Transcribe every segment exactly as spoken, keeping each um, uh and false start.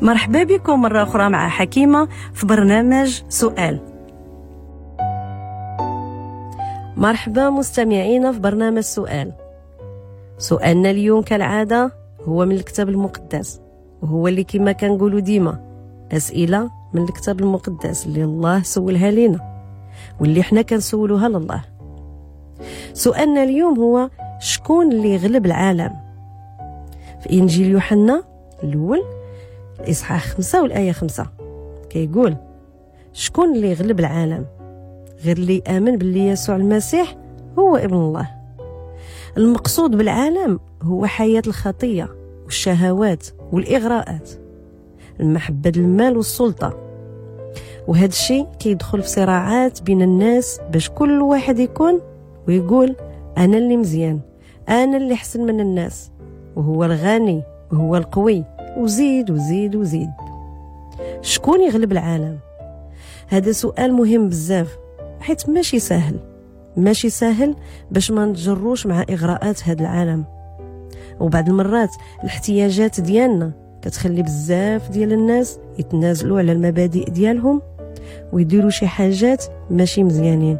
مرحبا بكم مرة أخرى مع حكيمة في برنامج سؤال. مرحبا مستمعينا في برنامج سؤال. سؤالنا اليوم كالعادة هو من الكتاب المقدس، وهو اللي كما كنقولوا ديما أسئلة من الكتاب المقدس اللي الله سولها لنا واللي حنا كنسولوها لله. سؤالنا اليوم هو شكون اللي غلب العالم؟ في إنجيل يوحنا الأول الإصحاح خمسة والآية خمسة كيقول شكون اللي غلب العالم؟ غير اللي آمن باللي يسوع المسيح هو ابن الله. المقصود بالعالم هو حياة الخطية والشهوات والإغراءات، المحبة المال والسلطة، وهذا الشيء كيدخل في صراعات بين الناس باش كل واحد يكون ويقول أنا اللي مزيان، أنا اللي حسن من الناس، وهو الغني وهو القوي، وزيد وزيد وزيد. شكون يغلب العالم؟ هذا سؤال مهم بزاف، حيت ماشي سهل، ماشي سهل باش ما نتجروش مع إغراءات هذا العالم. وبعض المرات الاحتياجات ديالنا كتخلي بزاف ديال الناس يتنازلوا على المبادئ ديالهم ويديروا شي حاجات ماشي مزيانين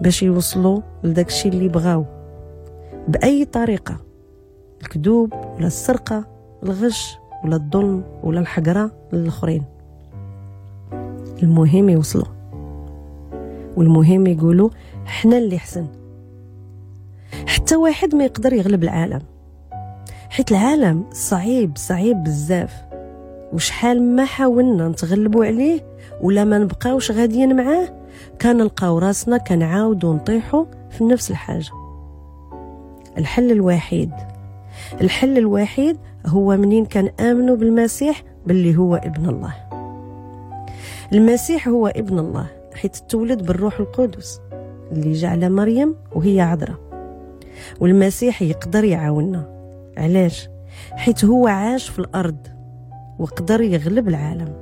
باش يوصلوا لداك الشيء اللي بغاو بأي طريقة، الكذوب ولا السرقة، الغش ولا الظلم ولا الحقرة للآخرين. المهم يوصلوا، والمهم يقولوا حنا اللي حسن. حتى واحد ما يقدر يغلب العالم، حيت العالم صعيب صعيب بزاف، وشحال ما حاولنا نتغلبوا عليه ولا ما نبقاوش غاديين معاه كنلقاو راسنا كنعاودوا نطيحوا في نفس الحاجة. الحل الوحيد الحل الوحيد هو منين كان آمنوا بالمسيح باللي هو ابن الله. المسيح هو ابن الله حيت تولد بالروح القدس اللي جعل مريم وهي عذراء، والمسيح يقدر يعاوننا. علاش؟ حيت هو عاش في الأرض وقدر يغلب العالم،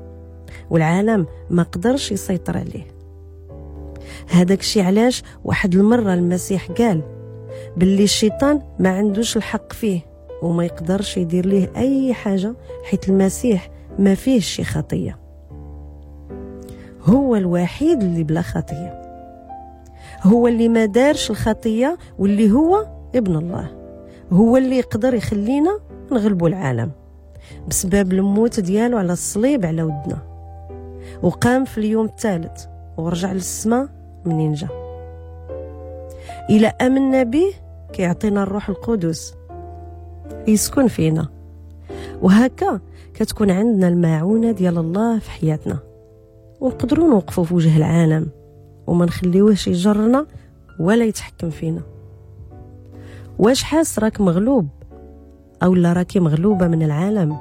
والعالم ما قدرش يسيطر عليه. هذاك الشيء علاش واحد المرة المسيح قال باللي الشيطان ما عندوش الحق فيه وما يقدرش يدير ليه أي حاجة، حيت المسيح ما فيهش شي خطية، هو الوحيد اللي بلا خطية، هو اللي ما دارش الخطية، واللي هو ابن الله، هو اللي يقدر يخلينا نغلبوا العالم بسبب الموت ديالو على الصليب على ودنا، وقام في اليوم الثالث ورجع للسماء منين جا. إلى آمنا به كيعطينا الروح القدس يسكن فينا، وهكا كتكون عندنا المعونة ديال الله في حياتنا، ونقدروا نوقفوا في وجه العالم وما نخليوهش يجرنا ولا يتحكم فينا. واش حاس راك مغلوب أو لا راكي مغلوبة من العالم؟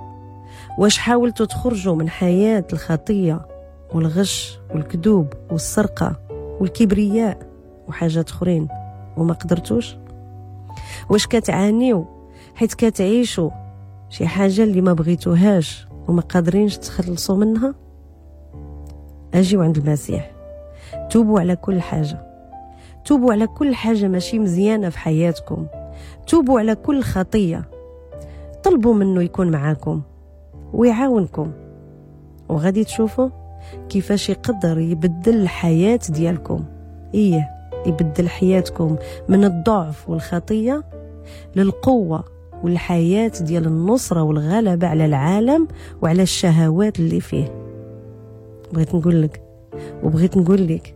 واش حاولتوا تخرجوا من حياة الخطية والغش والكذوب والسرقة والكبرياء وحاجات أخرين وما قدرتوش؟ واش كتعانيو حيت كتعيشوا شي حاجة اللي ما بغيتوهاش وما قادرينش تخلصوا منها؟ أجيوا عند المسيح، توبوا على كل حاجة، توبوا على كل حاجة ماشي مزيانة في حياتكم، توبوا على كل خطية، طلبوا منه يكون معاكم ويعاونكم، وغادي تشوفوا كيفاش يقدر يبدل الحياة ديالكم. إيه، يبدل حياتكم من الضعف والخطية للقوة والحياة ديال النصرة والغلبة على العالم وعلى الشهوات اللي فيه. بغيت نقول لك وبغيت نقول لك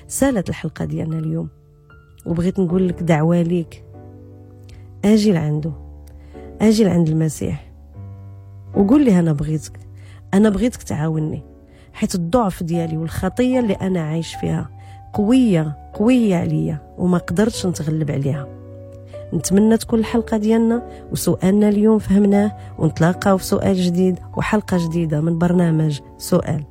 سالت الحلقة ديالنا اليوم، وبغيت نقول لك دعوة ليك، أجي لعنده، أجي لعند المسيح وقول لي أنا بغيتك، أنا بغيتك تعاوني، حيت الضعف ديالي والخطية اللي أنا عايش فيها قوية قوية عليا وما قدرتش نتغلب عليها. نتمنى تكون الحلقة ديالنا وسؤالنا اليوم فهمناه، ونتلاقاو في سؤال جديد وحلقة جديدة من برنامج سؤال.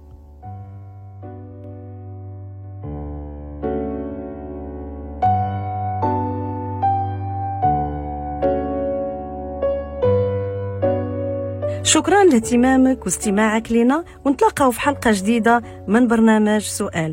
شكرا لاهتمامك واستماعك لنا، ونتلاقاو في حلقة جديدة من برنامج سؤال.